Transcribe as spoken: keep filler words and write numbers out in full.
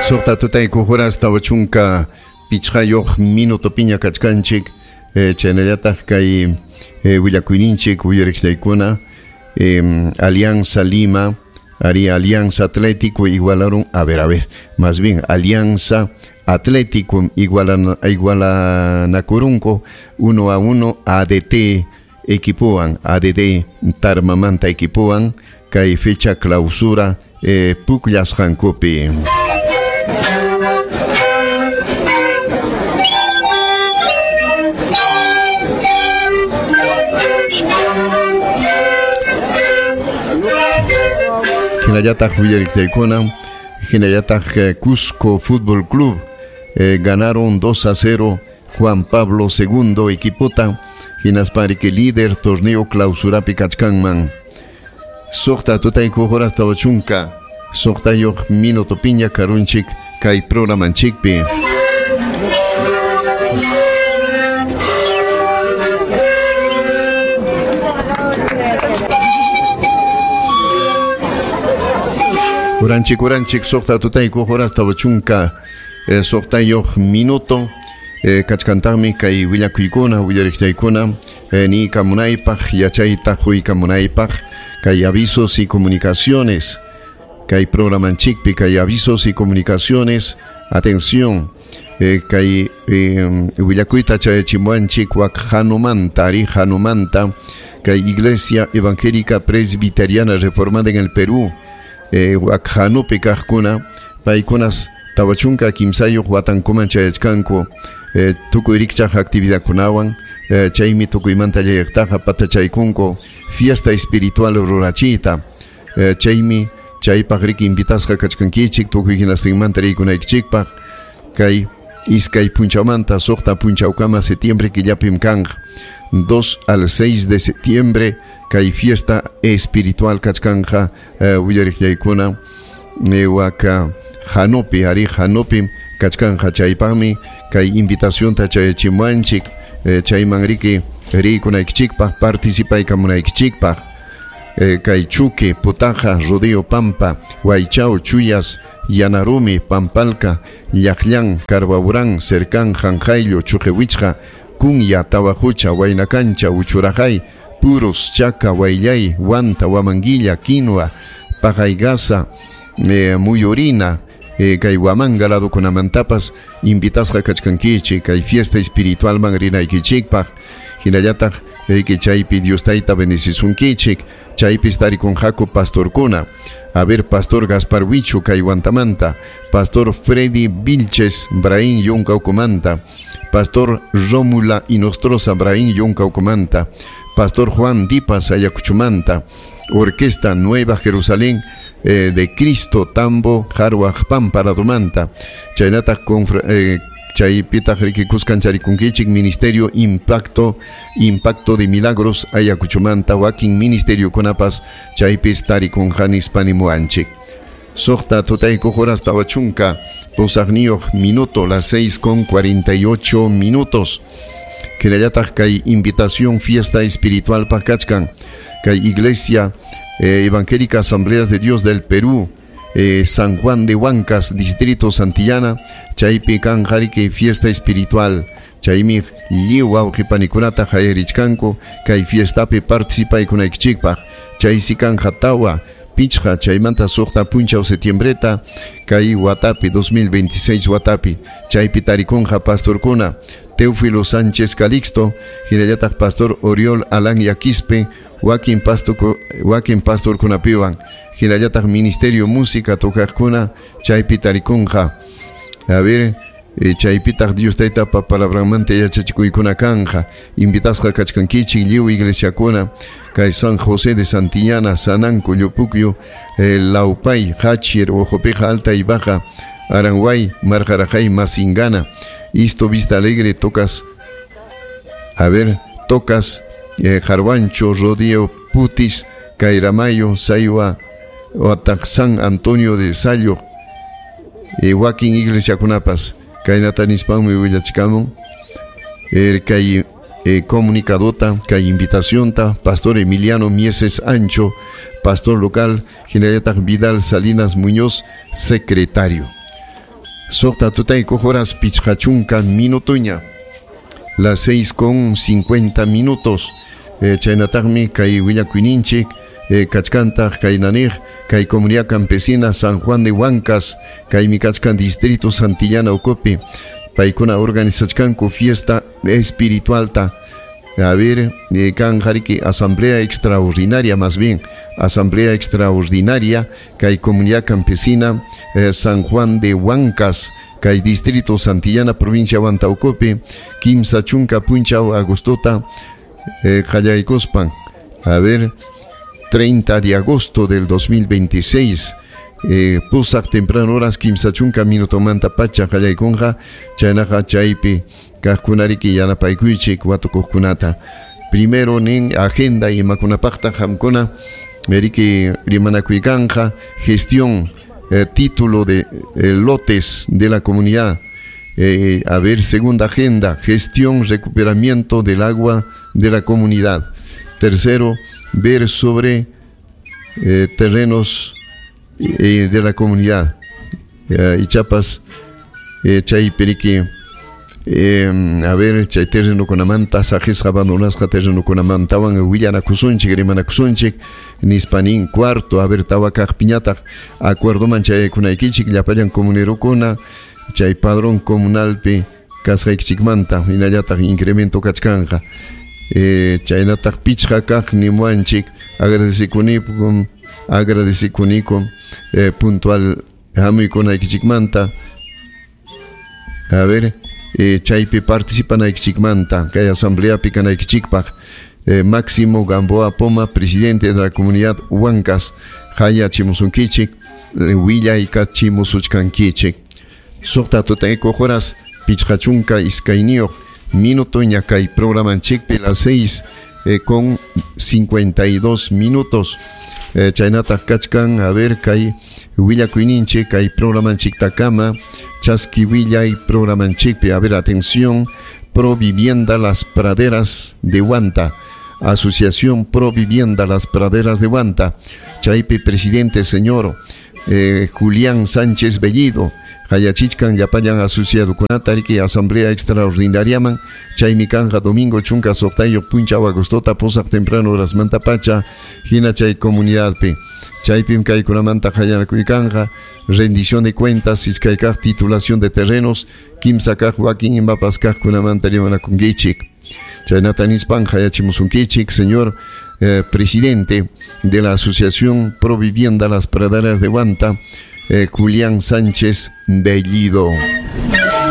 Suqta tutayku horas tawa chunka pichqayuq minuto piña kachkanchik, eh, chaynallataq kay eh, willakuyninchik uyariqllaykuna, eh, Alianza Lima, ari Alianza Atlético igualaron, a ver, a ver, más bien Alianza Atlético igualan, igualanakurunku uno a uno A D T equipoan, A D D Tarmamanta equipoan, kay fecha clausura eh, pukllasqankupi. Hinallataq willariqtaykuna, hinallataq Cusco Fútbol Club eh, ganaron dos a cero Juan Pablo segundo equipota, hinaspari que líder torneo clausurapi kachkanman. Suqta tutayku horas tawa chunka, suqtayuq minuto piña karunchik kay programanchikpi. Uranchik, uranchik, suqta tutayku horas tawa chunka, eh, suqtayuq minuto, eh, kachkantaqmi kay willakuykuna, willariqtaykuna, eh, ni kamunaypaq, yachayta huykamunaypaq, kay avisos y comunicaciones, kay programanchikpi, kay avisos y comunicaciones, atención, eh, kay, eh, willakuyta chayachimuanchik wak hanumanta, ari hanumanta, kay Iglesia Evangélica Presbiteriana Reformada en el Perú, eh, wak hanupi kaqkuna, paykunas tawachunka kimsayuq watankuman chayachkanku, eh, tukuy rikchaq actividadkunawan, eh, chaymi tukuymanta llayaqtaqa patachaykunku fiesta espiritual rurachiyta, eh, chaymi chaypaq riki invitasqa kachkankichik tukuy hinastinmanta riykunaykichikpaq, kay iskay punchawmanta suqta punchawkama septiembre killapim kanqa, dos al seis de septiembre kay fiesta espiritual kachkanja, eh, willariqllaykuna, eh, waka Hanupi, ari Hanupi kachkanja chaypaqmi kay invitacionta chayachimuanchik, eh, chayman riki riykunaykichikpaq, participaykamunaykichikpaq, eh, kay Chuque, Putaja, Rodeo Pampa, Huaychao, Chuyas, Yanarumi, Pampalca, Llaqllan, Carbaurán, Cercán, Janjailo, Chujehuichja, Cunya, Tawajucha, Huaynacancha, Uchurajay, Puros, Chaca, Huayllay, Huanta, Huamanguilla, Quinoa, Pajaygasa, eh, Muyurina, eh, kay Huamanga ladokunamantapas invitasqa kachkankichik kay fiesta espiritualman rinaykichikpaq, hinallataq riki chaypi Dios tayta bendecisunkichik, chaypis tarikunqaku pastorkuna, a ver, Pastor Gaspar Huicho kay Huantamanta, Pastor Freddy Vilches Braín Yuncaucumanta, Pastor Rómula Inostroza Braín Yuncaucumanta, Pastor Juan Dipas Ayacuchumanta, Orquesta Nueva Jerusalén, eh, de Cristo Tambo Jarwaj Pampa Radumanta, chaynataq confra, eh, chaypitaq riki kuskan charikunkichik Ministerio Impacto, Impacto de Milagros Ayacuchumanta, wakin ministerio kunapas chaypis tarikunqa nispanimuanchik. Suqta tutayku horas tawa chunka pusaqniyuq minuto, las seis con cuarenta y ocho minutos. Hinallataq kay invitación fiesta espiritual paqkachkan kay Iglesia, eh, Evangélica Asambleas de Dios del Perú, eh, San Juan de Huancas, Distrito Santillana, chaypi kan jariki fiesta espiritual, chaymi lliw wawqipanikunata qayarichkanku kay fiestapi participaykunaykichikpaq, chaysi kanja tawa pichqa chaymanta suqta punchaw septiembreta kay watapi dos mil veintiséis watapi, chaypi tarikunqa pastorkuna Teófilo Sánchez Calixto, hinallataq Pastor Oriol Alán Yaquispe, wakin pastor, wakin pastorkunapiwan, hinallataq Ministerio Música tocaqkuna chaypi tarikunqa. A ver, eh, chaypitaq Dios taytapa palabranmanta yachachikuykuna kanja, invitasqa kachkankichik lliw iglesiakuna kay San José de Santillana, Sananco, Llupucyo, eh, Laupay, Hachir, Ojopeja Alta y Baja, Aranguay, Marjarajay, Masingana, Isto Vista Alegre, Tocas, a ver, Tocas, eh, Jarwancho, Rodeo, Putis, Cairamayo, Saiwa, Oatac, San Antonio de Sayo, eh, wakin iglesiakunapas, kaynata nispanmi willachikamun, eh, kay, eh, comunicadota, kay invitacionta, Pastor Emiliano Mieses Ancho, pastor local, hinallataq Vidal Salinas Muñoz, secretario. Suqta tutaykuq horas pichqa chunka minutuña. Las seis con cincuenta minutos. Eh, chaynataqmi kay willakuyninchik eh, kachkantaq kaynaniq kay comunidad campesina San Juan de Huancas kaymi kachkan distrito Santillana ukupi paykuna organizachkanku fiesta espiritualta. A ver, eh, kan jariki asamblea extraordinaria, más bien asamblea extraordinaria kay comunidad campesina eh, San Juan de Huancas kay distrito Santillana provincia Huanta ukupi kimsa chunka punchaw agostota eh, qallaykuspan. A ver, treinta de agosto del dos mil veintiséis, eh, pusaq temprano horas kimsa chunka minutomanta pacha qallaykunqa chaynaqa chaypi kaqkunariki yanapaykuychik watukuqkunata. Primero nin agenda imakunapaqta qamkuna meriki rimanakuykanqa gestión, eh, título de eh, lotes de la comunidad. Eh, a ver, segunda agenda, gestión, recuperamiento del agua de la comunidad. Tercero, ver sobre eh, terrenos eh, de la comunidad. Eh, y chapas, eh, chay periqui, eh, a ver, chay terreno kunamanta, sajisqa abandonasqa terreno kunamantawan willanakusunchik, rimanakusunchik, nispanin. Cuarto, a ver, tawa kaqpiñataq acuerdoman chayaykunaykichik llapallan comunerukuna chay padrón comunalpi kasqaykichikmanta hinallataq incremento kachkanqa. Eh, chaynataq pichqa kaq nimuanchik agradecikunikum, agradecikunikum, eh, puntual hamuykunaykichikmanta. A ver, eh, chaypi participanaykichikmanta kay asambleapi kanaykichikpaq. Eh, Máximo Gamboa Poma, presidente de la comunidad Huancas, hayachimusunkichik, eh, willaykachimusuchkankichik. Suqta tutaykuq horas pichqa chunka iskayniyuq minuto ña kay programanchikpi las seis eh, con cincuenta y dos minutos. Eh, chaynataq kachkan, a ver, kay willakuyninchik kay programanchiktakama chaski willay programanchikpi. A ver, atención, Pro Vivienda Las Praderas de Huanta, Asociación Pro Vivienda Las Praderas de Huanta, chaypi presidente señor eh, Julián Sánchez Bellido, hayachichkan llapallan asociadokunata riki asamblea extraordinariaman chaymi kanja domingo chunka suqtayuq punchaw agostota pusaq temprano horasmanta pacha hina chay comunidadpi chaypim kaykunamanta hayanakuykanqa rendición de cuentas iskaykaq titulación de terrenos kimsa kaq wakin imapas kaqkunamanta rimanakunkichik. Chaynata nispan hayachimusunkichik señor eh, presidente de la Asociación Pro Vivienda Las Praderas de Huanta, eh, Julián Sánchez Bellido.